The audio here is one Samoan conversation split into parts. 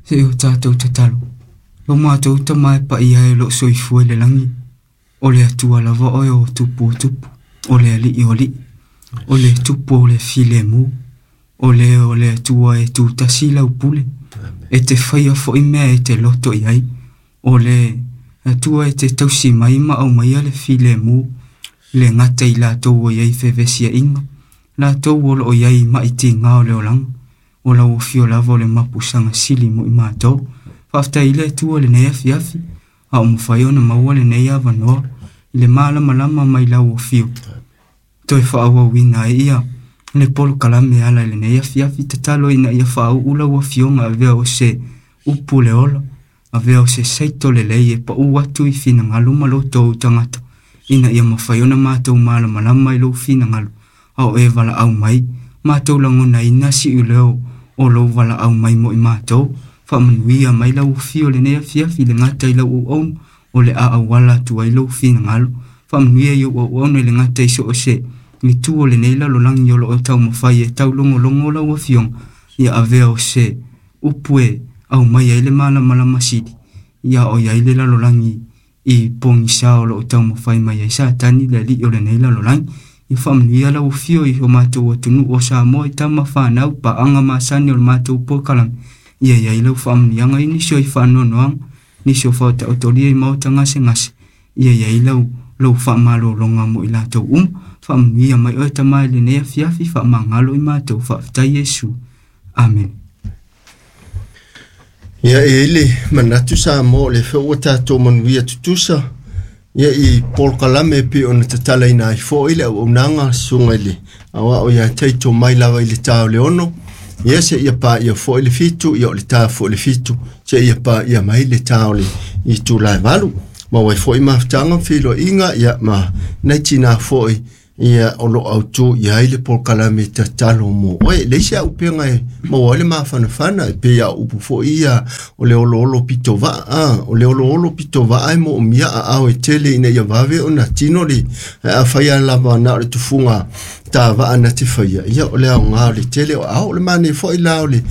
Se i o tatou tatalo. Lo matou Tama e paia e o lo o soifua i le lagi, o le Atua lava oe o tupu o tupu, o le Alii o alii, o le Tupu o le filemu, o le o le Atua e tutasi lau pule, e te faia foi mea e te loto i ai, o le Atua e te tausi mai ma aumaia le filemu, le gata i latou o i ai fevesiaiga, latou o lo o i ai mai tiga o le olaga, o lau afio lava o le mapusaga sili mo i matou. Faafetai i le Atua lenei afiafi, a o mafai ona maua lenei avanoa i le malamalama mai lau afio. Toe faaauauina ai ia le polokalame ala i lenei afiafi, tatalo ina ia faauu lau afioga avea o se upu le ola, avea o se saito lelei e pau atu i finagalo ma loto o tagata, ina ia mafai ona matou malamalama i lou finagalo, a o e valaau mai, matou lagonaina siu leo o lou valaau mai mo i matou. Faamanuia mai lau afio lenei afiafi le gata i lau auauna, o le a auala atu ai lou finagalo. Faamanuia i ou auauna i le gata i so o se itu o lenei lalolagi o lo o taumafai e taulogologo lau afioga, ia avea o se upu e aumai ai le malamalama sili, ia o i ai le lalolagi i pogisa o lo o taumafai mai ai Satani le alii o lenei lalolagi. Ia faamanuia lau afio i o matou atunuu o Samoa i tama fanau paaga masani o le matou polokalame, ia i ai lau faamanuiaga i nisi o i faanoanoaga, nisi o faataotolia i maota gasegase, ia i ai lau faamalologa mo i latou uma. Faamanuia mai oe Tama i lenei afiafi, faamagalo i matou. Faafetai Iesu. Amen. Ia e i le manatu Samoa o le fea ua tatou manuia tutusa ia i polokalame e pei ona tatalaina ai foi le auaunaga susuga i le aoao ia Taito mai lava i le ta o le 6, ia seia paia foi le 7, ia o le ta foi le 7, seia paia mai le ta o le itula e 8. Maua ai foi mafutaga ma feiloaiga ia ma nai tina foi ia o lo autu i ai le polokalame tatalo mo oe. Le isi au upega e maua ai le mafanafana e pei a upu foi ia o le oloolo pito vaa, o le oloolo pito vaa e moomia aao e tele ina ia vave ona tino le afai a lava na o le tufuga ta vaa na te faia, ia o le aoga o le tele o ao o le mane foi la o le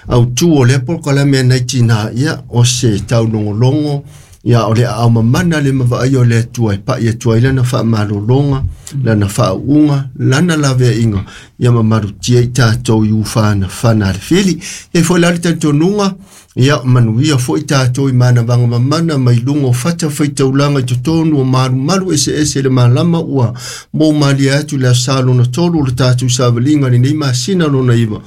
autu o le polokalame nai tina, ia o se taulogologo ia o le aao mamana le mavaai o le Atua e pai atu ai lana faamalologa, lana faauuga, lana laveaiga, ia mamalutia i tatou i ufanafana a le fili. Ia foi la le talitonuga, ia manuia foi tatou i manavaga mamana mai luga o fata faitaulaga i totonu o malumalu eseese le malama ua moumalie atu le aso Sa lona 3 o le tatou savaliga lenei masina lona 9.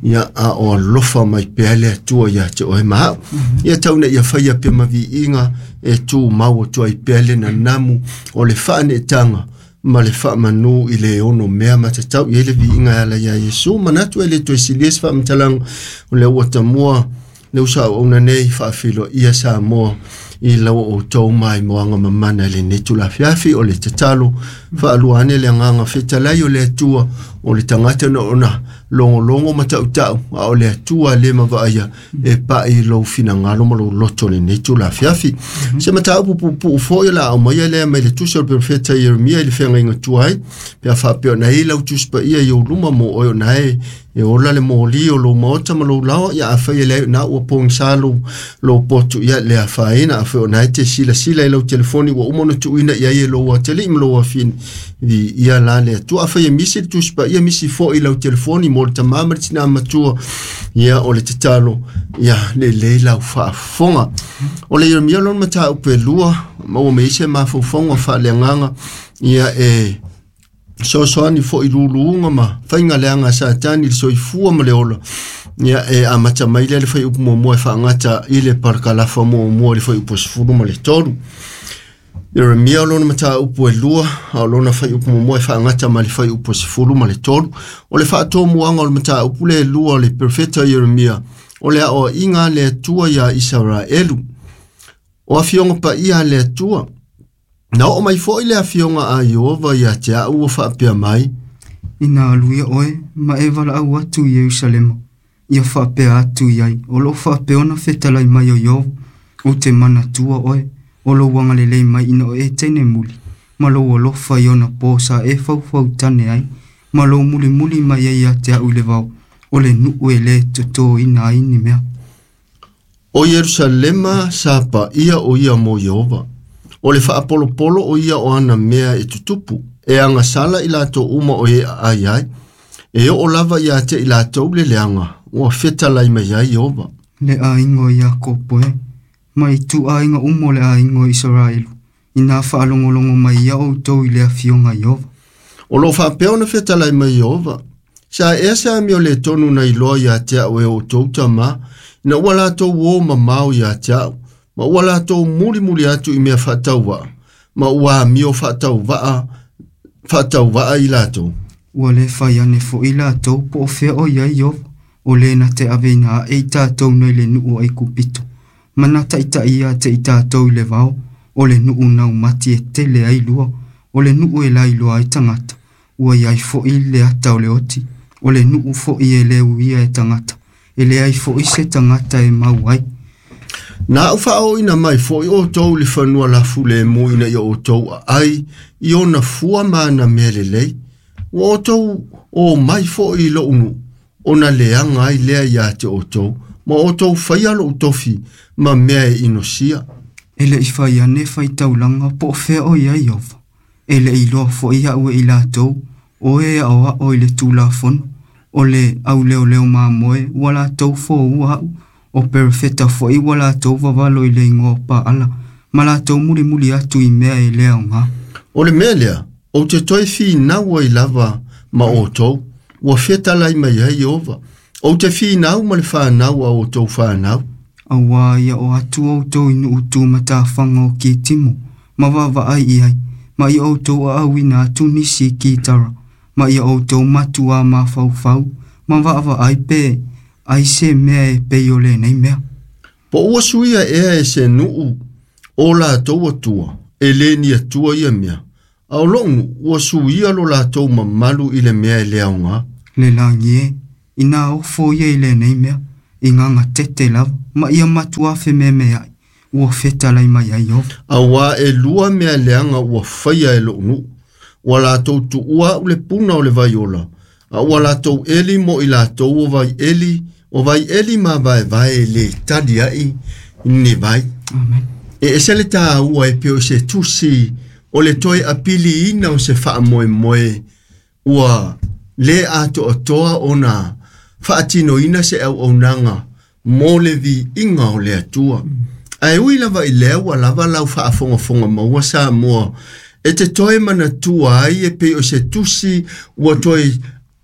Ia a o alofa mai pea le Atua ia te oe ma au. Ia tau ina ia faia pea ma viiga e tumau atu ai pea le nanamu o le faaneetaga ma le faamanu i le ono mea matatau i ai le viiga e ala ia Iesu. Manatu e le toe silia se faamatalaga o le ua tamua le uso auauna nei faafiloia Samoa i lau outou maimoaga mamana i lenei tulafiafi. O le tatalo faalua ane le agaga fetalai o le Atua, o le tagata na ona logologo ma tautau, a o le Atua le mavaaia e pai i lou finagalo ma lou loto lenei tulafiafi. Se mataupu puupuu foi o le a aumaia lea mai le tusi o le perofeta Ieremia i le feagaiga tuai, pe a faapea ona i lau tusi paia i ou luma mo oe ona e e ola le moli o lou maota ma lou laoa, ia afai e leai na ua pogisa lou potu, ia le afaina. Afai ona e te silasila i lau telefoni ua uma ona tuuina i ai e lou atalii ma lou afine, ia la le Atua. Afai e misi le tusi paia, misi foi i lau telefoni mo le tamā ma le tinā matua, ia o le tatalo, ia lelei lau faafofoga. O le Ieremia lona mataupu e 2, maua mai ai se mafaufauga faaleagaga, ia e soasoani foi luluga ma faiga leaga a Satani i le soifua ma le ola, ia e amata mai lea le fuaiupu muamua e faagata i le parakalafa muamua i le fuaiupu 13. Ieremia o lona mataupu e 2, a o lona fuaiupu muamua e faagata ma le fuaiupu 13. O le faatomuaga o le mataupu le 2 o le perofeta Ieremia, o le aoaiga a le Atua ia Isaraelu. O afioga paia a le Atua. Na oo mai foi le afioga a Ieova ia te au ua faapea mai, Ina alu ia oe ma e valaau atu i Ierusalema, ia faapea atu i ai, o loo faapea ona fetalai mai o Ieova, ou te manatua oe, o lou agalelei mai ina o e teine muli, ma lou alofa i ona po sa e faufautane ai, ma lou mulimuli mai ai ia te au i le vao, o le nuu e le totoina ai ni mea. O Ierusalema sa paia o ia mo Ieova. O le faapolopolo o ia o ana mea e tutupu. E agasala i latou uma o e aai ai. E oo lava ia te i latou le leaga, ua fetalai mai ai Ieova. Le aiga o Iakopo e, ma i ituaiga uma o le aiga o Isaraelu, ina faalogologo mai ia outou i le afioga Ieova. O loo faapea ona fetalai mai Ieova. Sa ea se amio le tonu na iloa ia te au e outou tamā, ina ua latou o mamao ia te au, ma ua latou mulimuli atu i mea faatauvaa, ma ua amio faatauvaa i latou. Ua le fai ane fo'i latou po o fea o i ai Ieova, o lē na te aveina aʻe i tatou nai le nuu o Aikupito, ma na taʻitaʻi ia te i tatou i le vao, o le nuu naumati e tele ai lua, o le nuu e lailoa ai tagata, ua iai fo'i le ata o le oti, o le nuu fo'i e le uia e tagata, e leai fo'i se tagata e mau ai. Na au faaoina mai fo'i outou i le fanua lafulemu ina ia outou aai i ona fua ma ana mea lelei. Ua outou o mai fo'i i lo'u nuu, ona leaga ai lea ia te outou, ma outou faia lo'u tofi ma mea e inosia. E leʻi fai ane faitaulaga po o fea o i ai Ieova. E leʻi iloa fo'i a'u e i latou, o e aoao i le tulafono, o le auleoleo mamoe ua latou foua a'u, o perofeta fo'i ua latou vavalo i le igoa o Paala, ma latou mulimuli atu i mea e le aogā. O le mea lea, ou te toe finau ai lava ma outou, ua fetalai mai ai Ieova. Ou te finau ma le fanau a outou fanau. Auā ia o atu outou i nuu tumatafaga o Kitimu, ma vaavaai i ai, ma ia outou aauina atu nisi i Kitara, ma ia outou matuā mafaufau, ma vaavaai pe ai se mea e pei o lenei mea. Po ua suia ea e se nuu o latou atua, e le ni atua ia mea. A o lo'u nuu ua suia lo latou mamalu i le mea e le aogā. Le lagi e, ina ofo ia i lenei mea, i gagatete lava, ma ia matuā fememeaʻi, ua fetalai mai ai Ieova. Auā e lua mea leaga ua faia e lo'u nuu. Ua latou tuua a'u le puna o le vaiola, a ua latou eli mo i latou o vaieli mavaevae e lē tali ai ni vai. Amen. E ese le tāua e pei o se tusi o le toe apiliina o se faamoemoe ua lē atoatoa ona faatinoina se auaunaga mo le viiga o le Atua. Ae ui lava i lea ua lava lau faafogafoga maua Samoa e te toe manatua ai e pei o se tusi ua toe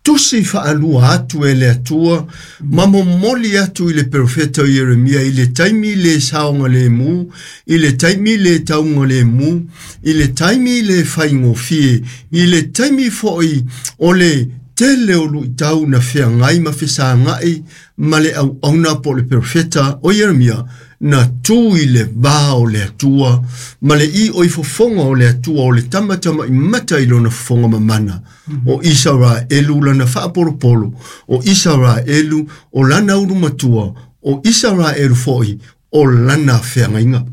tusi faalua atu e le Atua ma momoli atu i le perofeta o Ieremia i le taimi le saogalemu, i le taimi le taugalemu, i le taimi le faigofie, i le taimi fo'i o le tele o luitau na feagai ma fesagaʻi ma le auauna po o le perofeta o Ieremia na tu i le vā o le Atua ma le i o i fofoga o le Atua o le tamatamaʻi mata i lona fofoga mamana. O Isaraelu lana faapolopolo, o Isaraelu o lana ulumatua, o Isaraelu fo'i o lana feagaiga.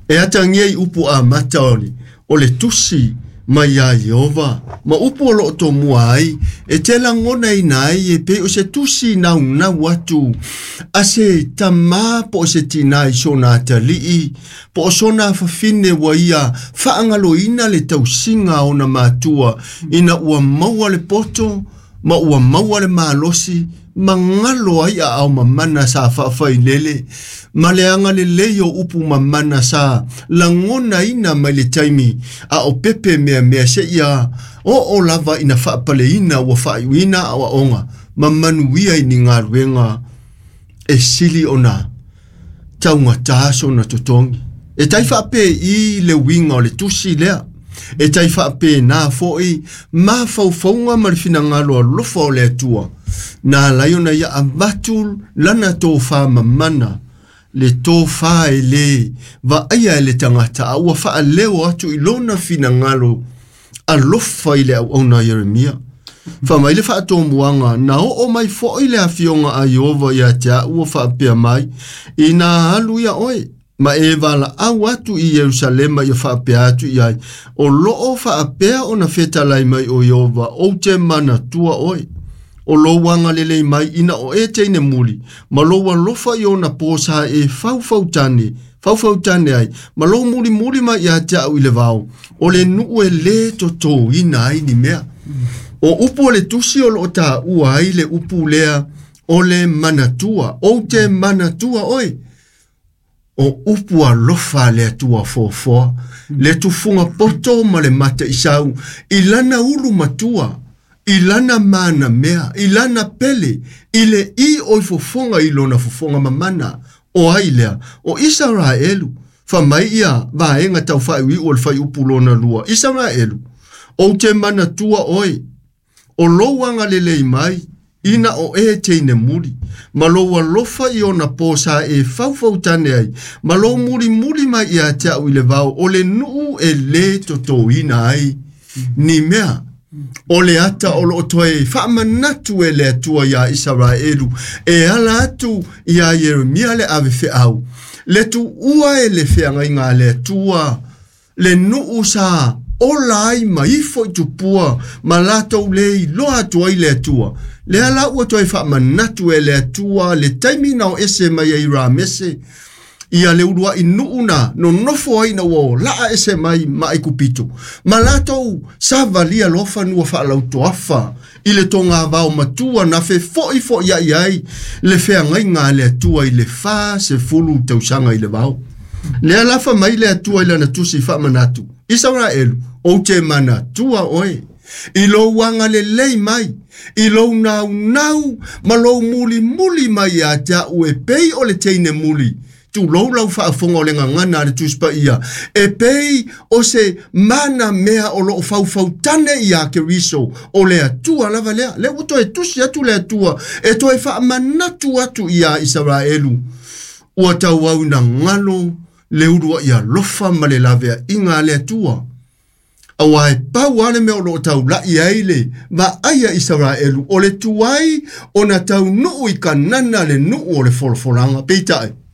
E atagia i upu amata o le tusi mai ia Ieova ma upu o loo tomua ai e te lagonaina ai e pei o se tusi naunau atu a se tamā po o se tinā i sona atalii po o sona afafine ua ia faagaloina le tausiga a ona matua ina ua maua le poto ma ua maua le malosi ma galo ai aao mamana sa faafailele ma le agalelei o upu mamana sa lagonaina mai le taimi a o pepe meamea seia oo lava ina faapaleina ua faaiuina aoaoga ma manuia i ni galuega e sili ona taugatā sona totogi. E tai faapēi le uiga o le tusi lea. E tai faapēnā fo'i mafaufauga ma le finagalo alofa o le Atua. Na alai ona ia avatu lana tofā mamana, le tofā e lē vaaia e le tagata a ua faaleo atu i lona finagalo alofa i le auauna a Ieremia. Faamai le faatomuaga na oo mai fo'i le afioga a Ieova ia te a'u ua faapea mai, ina alu ia oe ma e valaau atu i Ierusalema ia faapea atu i ai, o loo faapea ona fetalai mai o Ieova, ou te manatua oe. O lou agalelei mai ina o e teine muli, ma lou alofa i ona po sa e faufautane, faufautane ai, ma lou mulimuli mai ia te au i le vao, o le nuu e lē totōina ai ni mea. O upu o le tusi o loo taua ai le upu lea o le manatua, ou te manatua oe. O upu alofa a le Atua foafoa, le tufuga poto ma le mata isau, i lana ulu matua, i lana manamea, i lana pele, i le i o i fofoga i lona fofoga mamana, o ai lea, o Isaraelu, fai mai ia vaega tau faaiuiu o le fuaiupu lona 2, Isaraelu, ou te manatua oe, o lou agalelei mai, ina o e teine muli, ma lou alofa i ona po sa e faufautane ai, ma lou mulimuli mai ia te au i le vao, o le nuu e lē totōina ai ni mea. O le ata o loo toe faamanatu e le Atua iā Isaraelu e ala atu iā Ieremia le ave feau. Le tuua e le feagaiga a le Atua, le nuu sa ola ai ma ifo i tupua ma latou le iloa atu ai le Atua. Lea la ua toe faamanatu e le Atua le taimi na o ese mai ai Ramese, ia le uluai nuu na nonofo ai na ua laa ese mai ma Aikupito. Ma latou savalia loa fanua faalautoafa i le togavao matua na fefo'ifo'ia'i ai le feagaiga a le Atua i le 40 tausaga i le vao. Lea la fai mai le Atua i lana tusi faamanatu, Isaraelu, ou te manatua oe, i lou agalelei mai, i lou naunau ma lou mulimuli mai ia te au e pei o le teine muli. Tulou lau faafofoga o le gagana a le Tusi Paia, e pei o se mana mea o loo faufautane iā Keriso, o le Atua lava lea. Lea ua toe tusi atu le Atua, e toe faamanatu atu iā Isaraelu. Ua tauau ina galo le uluai alofa ma le laveaiga a le Atua. Auā e pau lava le mea o loo taula'i ai le vaai a Isaraelu o le tuai ona taunuu i Kanana le nuu o le folafolaga. Peitai,